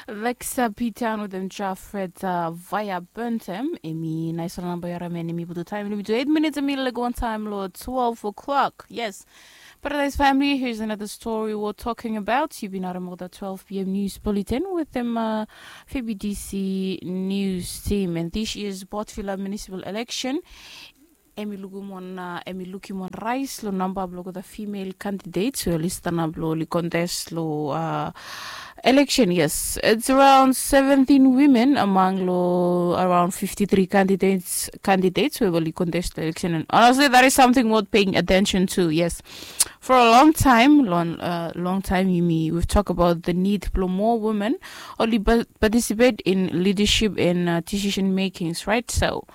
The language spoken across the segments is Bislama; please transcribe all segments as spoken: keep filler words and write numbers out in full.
Lexa P-Town wetem Jafret uh, via Burntem. Emi naisala namba yara men emi butu time emi to eight minutes emi lego one time lo twelve o'clock. Yes. Paradise family, here's another story we're talking about. You've been out of the twelve p.m. news bulletin with them uh, F B D C news team. And this year's Botvilla municipal election emi lukim wan uh, emi lukim wan rise lo namba blog the female candidates who list namba lo li contest lo uh, election. Yes, it's around seventeen women among lo around fifty-three candidates candidates who will contest the election, and honestly that is something worth paying attention to. Yes, for a long time long, uh, long time yumi we've talked about the need for more women only participate in leadership and uh, decision makings, right? So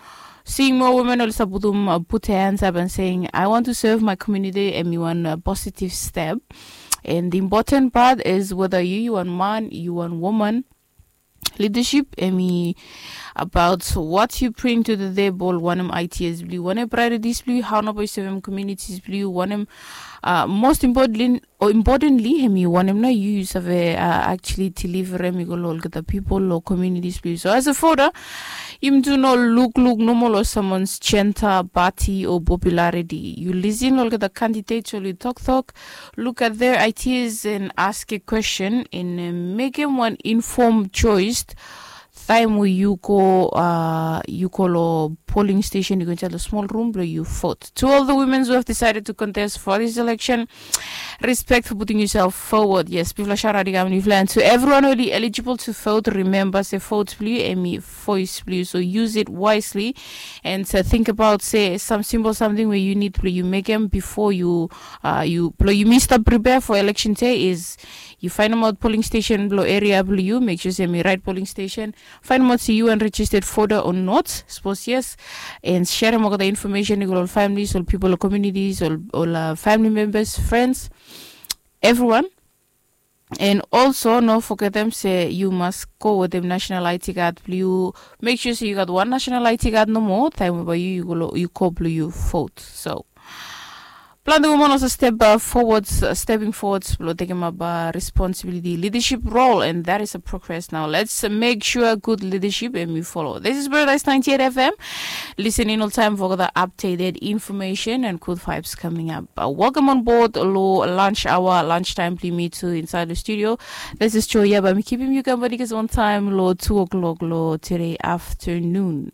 seeing more women also put, um, uh, put their hands up and saying, "I want to serve my community," and you want a positive step. And the important part is whether you, you want man, you want woman, leadership emi about what you bring to the table, wanem ideas blue, wanem priorities blue, how nabo you serve communities blue, wanem uh, most importantly, importantly emi wanem na you save uh, actually deliver emi go lo olgeta people lo communities blue. So as a voter, you do not look look normal or someone's gender, party or popularity. You listen olgeta candidates or you talk talk, look at their ideas and ask a question and uh, make them one informed choice. Time we you go uh, you go lo polling station, you go inside the small room where you vote. To all the women who have decided to contest for this election, respect for putting yourself forward. Yes, people are shouting out if land to everyone who is eligible to vote. Remember say vote blue emi voice blue, so use it wisely. And uh, think about say some simple something where you need blue you make them before you uh, you blue you miss the prepare for election day is you find them out polling station blue area blue you make sure say me right polling station, find them out see you and registered voter or not, suppose yes, and share them out the information with all families, all people, all communities, all, all uh, family members, friends, everyone. And also no forget them say you must go with them national I D card blue. Make sure say you got one national I D card no more time over you you go you go blue you vote. So planti woman also step uh, forwards uh, stepping forwards blue taking up uh, responsibility leadership role, and that is a progress. Now let's uh, make sure good leadership and we follow. This is Paradise ninety-eight F M. Listening all time for the updated information and good vibes coming up. Uh, welcome on board lo lunch hour, lunchtime blue me too inside the studio. This is Joya, but I'm keeping you company because one time lo two o'clock lo today afternoon.